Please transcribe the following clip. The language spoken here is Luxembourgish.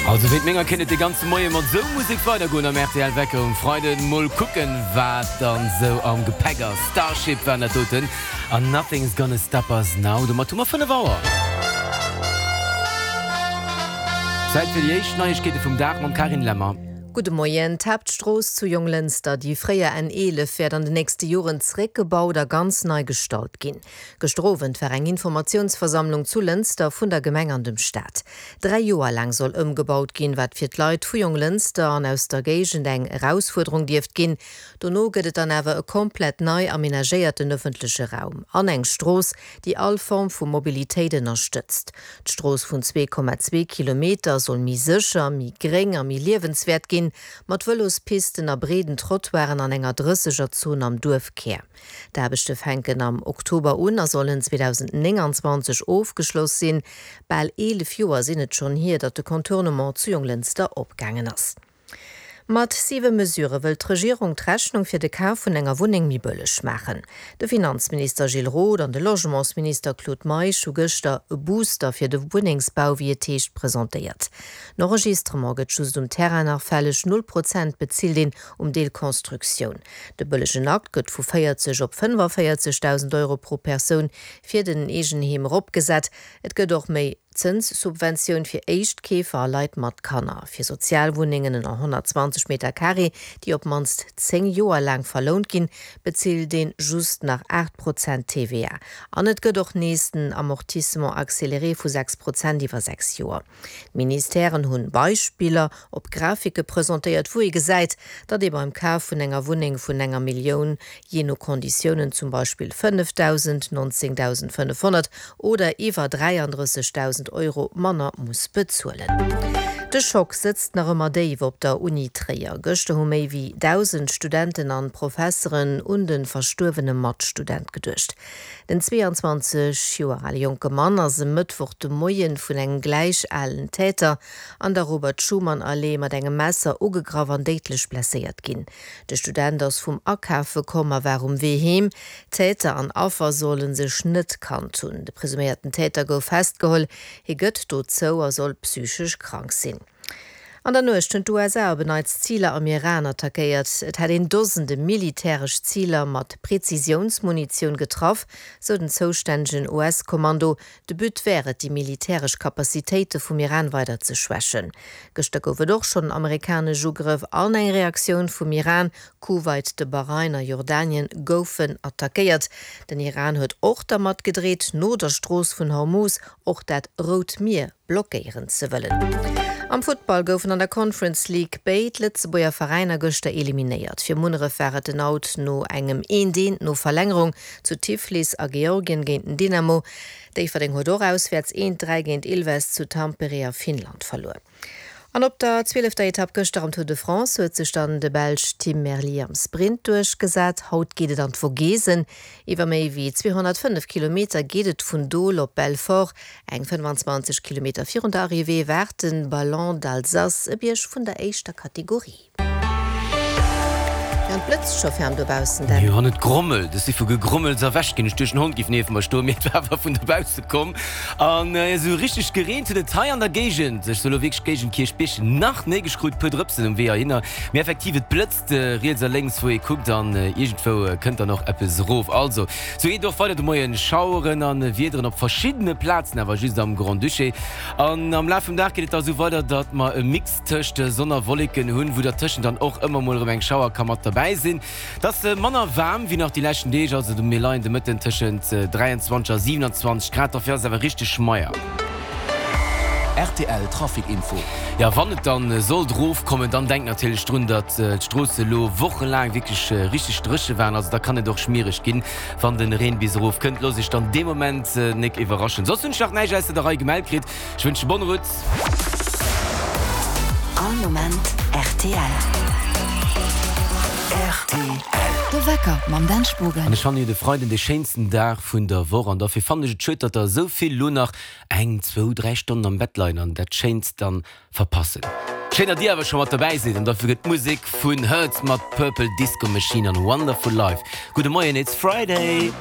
Also wéint menger kéint et de ganze Moie mat sou Musek weidergoen am rtl Wecker um Freiden. Mol kucken wat dann sou am Gepäck ass. Starship waren dat doten an Nothing's Gonna Stop Us Now. Domat hu mer 5 Auer. Zäit fir déi éischt Neiegkeete vum Dag mam Carine Lemmer. Gudde Moien. D'Haaptstrooss zu Jonglënster, déi fréier N 11, wäert an den nächste Joren zeréckgebaut a ganz nei gestalt ginn. Gëschter Owend war eng Informatiounsversammlung zu Lënster vun der Gemeng an dem Staat. 3 Joer laang soll ëmgebaut ginn, wat fir d'Leit vu Jonglënster an aus der Géigend eng Erausfuerderung dierft ginn. Dono gëtt et dann awer e komplett nei amenagéierten ëffentleche Raum an eng Strooss, déi all Form vu Mobilitéit ënnerstëtzt. D'Strooss vun 2,2 Kilometer soll méi sécher, méi gréng a méi liewenswäert ginn, mat Vëlospisten a breeden Trottoiren an enger Drëssegerzon am Duerfkär. D'Aarbechte fänken am Oktober un a sollen 2029 ofgeschloss sinn. Bal 11 Joer sinn et schonn hier, datt de Contournement zu Jonglënster opgaangen ass. Mat siwe Mesurë wëllt d'Regierung d'Rechnung fir de Kaf vun enger Wunneng méi bëlleg maachen. De Finanzminister Gilles Roth an de Logementsminister Claude Meisch hu gëschter e Booster fir de Wunnengsbau, wéi et heescht, presentéiert. Den Enregistrement gëtt just um Terrain nach fälleg, null Prozent bezilt een um Deel Constructioun. De bëllegen Akt gëtt vu 40 op 45.000 Euro pro Persoun fir den Eegenheem eropgesat. Et gëtt och méi Zënssubventioun fir Éischtkeefer a Leit mat Kanner. Fir Sozialwunnengen ënner 120 Meter Carré, déi op d'mannst 10 Joer laang verlount ginn, bezilt een just nach 8 Prozent TVA. An et gëtt och nees den Amortissement accéléré vu 6 Prozent iwwer 6 Joer. D'Ministèren hunn Beispiller op Grafike presentéiert, wou ee gesäit, datt ee beim Kaf vun enger Wunneng vun enger Millioun, jee no Konditiounen, zum Beispill 5.000, 19.500 oder iwwer 33.000 Euro manner muss bezuelen. De Schock sëtzt nach ëmmer déif op der Uni Tréier. Gëschter hu méi wéi 1.000 Studenten an Professeren un de verstuerwene Matstudent geduecht. Den 22 Joer ale jonke Mann ass e Mëttwoch de Moie vun engem gläich alen Täter an der Robert-Schuman-Allee mat engem Messer ugegraff an déidlech blesséiert ginn. De Student ass vum Akafe komm a war um Wee heem. Täter an Affer solle sech net kannt hunn. De presuméierten Täter gouf festgeholl. Hie gëtt dozou a soll psychesch krank sinn. An der Nuecht hunn d'USA op en Neits Ziler am Iran attackéiert. Et hätt een Dosende militäresch Ziler mat Prezisiounsmunitioun getraff, sou den zoustännegen US-Kommando. De But wär et, déi militäresch Capacitéite vum Iran weider ze schwächen. Gëschter gouf et och schonn amerikanesch Ugrëff an eng Reaktioun vum Iran. Kuwait, de Bahrain a Jordanien goufen attackéiert. Den Iran huet och dermat gedreet, no der Strooss vun Hormuz och dat Rout Mier blockéieren ze wëllen. Am Futtball goufen an der Conference League béid Lëtzebuerger Veräiner gëschter eliminéiert. Fir Munneref war et den Out no engem eent eent no Verlängerung zu Tiflis a Georgien géint den Dynamo. Déifferdeng huet och auswäerts eent 3 géint Ilves zu Tampere a Finnland verluer. An op der zwielefter Etapp gëschter am Tour de France huet sech dann de Belsch Tim Merlier am Sprint duerchgesat. Haut geet et an d'Vogesen. Iwwer méi wéi 205 Kilometer geet et vun Dole op Belfort. Eng 25 Kilometer virun der Arrivée waart de Ballon d'Alsace, e Bierg vun der éischter Kategorie. Jo, et blëtzt scho ferm dobaussen, Dan. Jo, an et grommelt. Ech si vu Gegrommels erwächt ginn. Ech duecht, en Hond géif nieft mer stoen, mee et war awer vun dobausse komm. An esou richteg gereent huet et hei an der Géigend, ech soe lo wierklech Géigend Kierchbierg, nach néi. Ech krut e puer Drëpsen um Wee heihinner. Mee effektiv, et blëtzt riets a lénks, wou ee kuckt, an iergendwou kënnt dann och eppes erof. Also, sou geet et och weider de Moien. Schaueren a Wiederen op verschiddene Plazen, awer just am Grand-Duché. An am Laf vum Dag geet et da sou weider, datt mer e Mix tëscht Sonn a Wolleken hunn, wou dertëschent dann och ëmmer mol erëm eng Schauer ka mat derbäi sinn. Et ass manner waarm wéi nach déi leschten Deeg, also mir leien de Mëtten tëschent 23 a 27 Grad, dofir ass et awer richteg schmeier. Rtl Trafic Info. Jo, wann et dann sollt erofkommen, dann denkt natierlech drun, datt d'Stroosse lo wochelaang wierklech richteg dréche waren, also da kann et och schmiereg ginn, wann den Reen bis erof kënnt. Loosst iech dann dee Moment nek iwwerraschen. Soss hunn ech nach näischt ausser der Rei gemellt kritt. Ech wënschen bonne route. All Moment rtl. Rtl. De Wecker mam Dan Spogen. An ech fannen jo de Freiden de schéinsten Dag vun der Woch an derfir fannen ech et schued, datt der esou vill lo nach eng, zwou, 3 Stonnen am Bett leien an dat Schéinst dann verpassen. Schéin datt dir awer scho mat dobäi sidd an derfir gëtt d'Musek vun Hurts mat Purple Disco Machine an Wonderful Life. Gudde Moien, it's Friday!